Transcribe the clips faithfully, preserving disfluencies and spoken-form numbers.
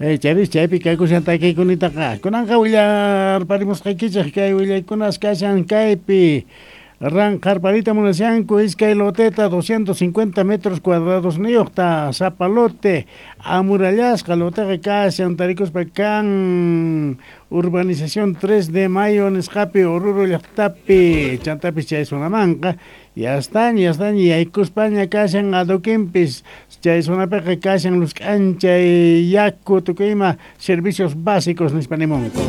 Eh, charis chaypi kaykushan takiykunitaqa kunanqa willarparimusqaykichej kay willaykunas kashan kaypi ranqarparita munashanku iskay loteta doscientos cincuenta metros cuadrados niyuqta sapa lote amurallasqa loteqa kashan tarikuspa kan urbanización tres de mayo nisqapi Oruro llaqtapi chantapis chay zonamanqa yastaña yastaña yaykuspaña kashan adoquinpis chay zonapiqa kashan lusk'anchay yaku tukuy ima servicios básicos nispa nimunku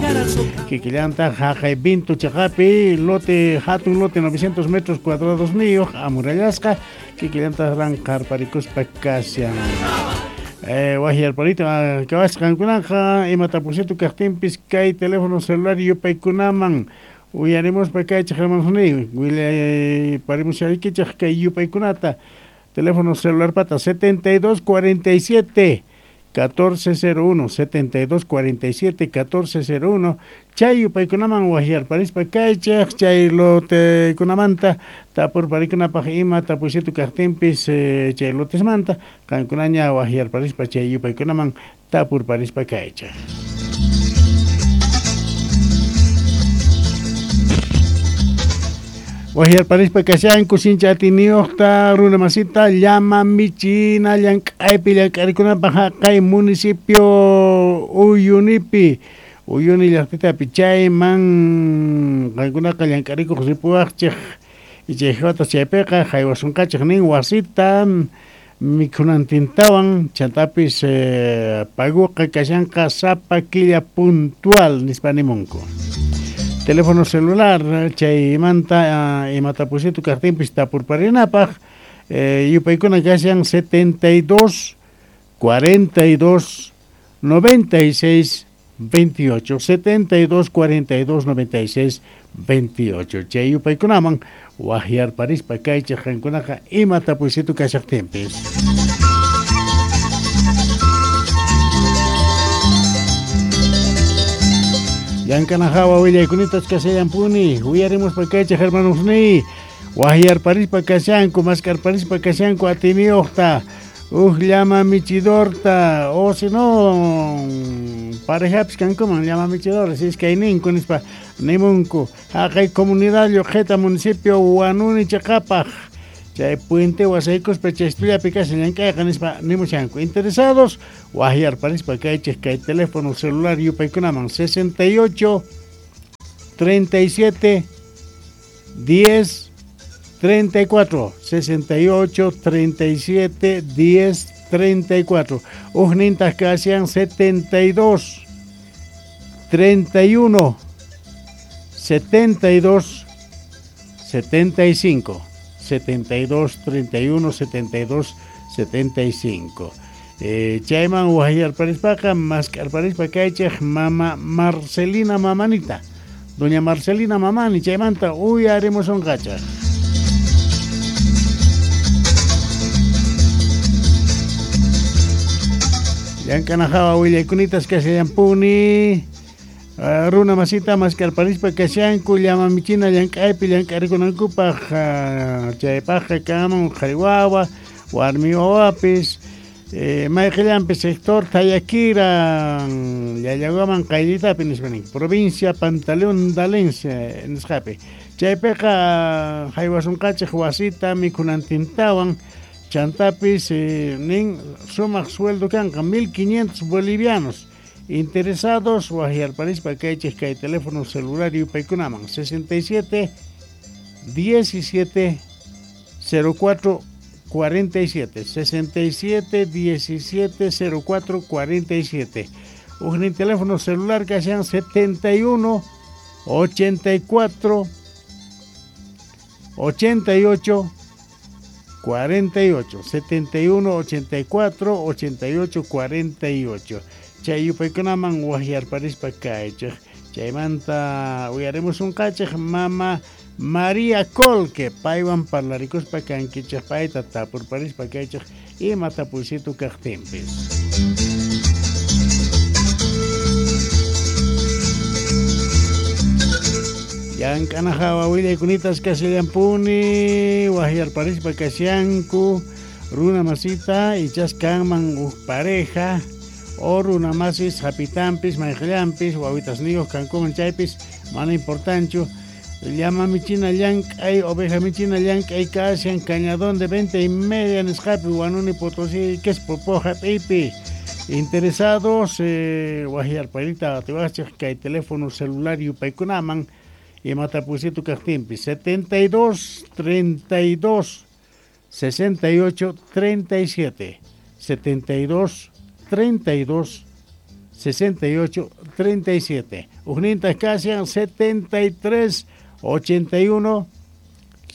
kikillantaq haqay Vinto chaqapi lote hatun lote novecientos metros cuadrados niyuq amurallasqa kikillantaq ranqarparikuspa kashan. Eh, wahyarparita kawasqankunaqa ima tapusitu kaqtinpis kay teléfono celular yupaykunaman uyarimuspa kaychej hermanosniy willayparimushariykichej kay yupaykunata teléfono celular pata setenta y dos cuarenta y siete catorce cero uno setenta y dos cuarenta y siete catorce cero uno chay yupaykunaman wahyarparispa kaychej chay lotekunamanta tapurparikunapaj ima tapuysitu kaqtinpis eh, chay lotesmanta qankunaña wahyarparispa chay yupaykunaman tapurparispa kaychej. Wahyarparispa kashanku sincha atiniyuqta runa masita llama michina llank'aypi llank'arikunapaj haqay municipio Uyunipi Uyuni llaqtitapi chayman qankunaqa llank'arikuq ripuwaqchej ichayjawata chaypiqa haywasunqachej nin wasita mikhunantintawan chantapis eh, paguqa kashanqa sapa killa puntual nispa nimunku. Teléfono celular chaymanta uh, imatapusitu kaqtinpis tapurparinapaj eh, yupaykuna kashan setenta y dos cuarenta y dos noventa y seis veintiocho setenta y dos cuarenta y dos noventa y seis veintiocho chay yupaykunaman wahyarparispa kaychej qankunaqa ima tapusitu kashaqtinpis. Llank'anajawa willaykunatas kashallampuni uyarimuspa kaychej hermanosniy wahyarparispa kashanku maskarparispa kashanku atiniyuqta uj llama michidorta o si no parejapis kankuman llama michidores iskayninku nispa nimunku haqay comunidad Lluqheta municipio Huanuni chaqapaj chay puente wasaykuspa chaystullapi kashan llank'ayqa nispa nimushanku interesados wahyarparispa kaychej kay teléfono celular yupaykunaman sesenta y ocho treinta y siete diez treinta y cuatro sesenta y ocho treinta y siete diez treinta y cuatro ujnintaj kashan setenta y dos treinta y uno setenta y dos setenta y cinco setenta y dos treinta y uno setenta y dos setenta y cinco. Eh, chayman wahyarparispaqa mask'arparispa kaychej mama Marcelina Mamanita doña Marcelina Mamani chaymanta uyarimusunqachej. Llank'anajawa willaykunatas kashallampuni Uh, runa masita maskarparispa kashanku llama michina llank'aypi llank'arikunankupaj uh, chaypajqa kanman qhari wawa warmi wawapis eh, mayqillanpi sector Tayakira Llallawaman qayllitapi nispa nin provincia Pantaleón Dalencia nisqapi chaypiqa haywasunqachej wasita mikhunantintawan chantapis eh, nin sumaq sueldo kanqa mil quinientos bolivianos. Interesados wahyarparispa kaychej kay teléfono celular yupaykunaman sesenta y siete diecisiete cero cuatro cuarenta y siete sesenta y siete diecisiete cero cuatro cuarenta y siete ujnin teléfono celular kashan setenta y uno ochenta y cuatro ochenta y ocho cuarenta y ocho setenta y uno ochenta y cuatro ochenta y ocho cuarenta y ocho chay yupaykunaman wahyarparispa kaychej chaymanta uyarimusunqachej mama María Colque paywan parlarikuspa kankichej payta tapurparispa kaychej ima tapuysitu kaqtinpis. Llank'anajawa willaykunatas kashallampuni wahyarparispa kashanku runa masita ichas kanman uj pareja O runamasis hapitampis mayqllampis wawitasniyuq kankuman chaypis mana importanchu. Llama michina llank'ay, oveja michina llank'ay kashan cañadón de venta y media nisqapi Huanuni Potosí Quespo hap'iypi. Interesados eh, wajyarparita atiwachej kay teléfono celular yupaykunaman imatapusitu kaqtinpi setenta y dos, treinta y dos, sesenta y ocho, treinta y siete, setenta y dos, treinta y dos, sesenta y ocho, treinta y siete. Ujnintas kashan setenta y tres, ochenta y uno,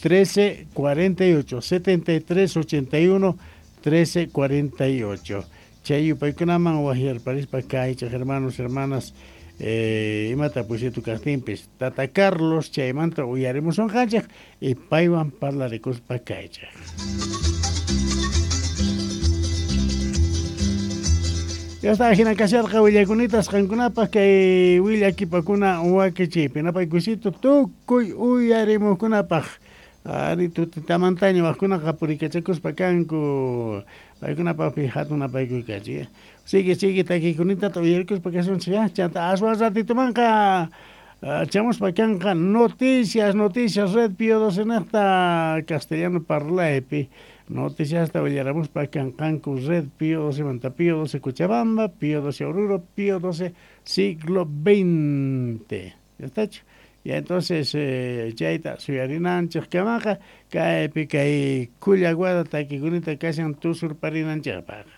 trece, cuarenta y ocho, setenta y tres, ochenta y uno, trece, cuarenta y ocho. Chay yupaykunaman wajyarparispa kaychej hermanos, hermanas, eh, imata pusitu kaqtinpis Tata Carlos chaymanta uyarimusunqanchej y paywan parlarikuspa kaychej. Ya está, hina kasharqa willakunitas qankunapaq kay willakipakuna wakichiypi napaykusito tukuy uyarimuqkunapaq. Ari tutitamantaña wajkunaqa purikachakuspa kanku paykunapaqpi hatun napaykuykachik. Sigue, sigue takikunitata uyarikuspa kasunchik ya chanta aswan ratitumanqa chamuspa kanqa noticias, noticias Red Pío doce nejta castellano parlaypi. Noticias hasta willaramuspa kanqanku Red Pío doce manta Pío doce Cochabamba, Pío doce Oruro, Pío doce siglo veinte. ¿Ya está hecho? Y entonces eh, chayta suyarinanchik kamaqa kaypi kay kullaguada takikunita kashan tusurparinanchikpaq.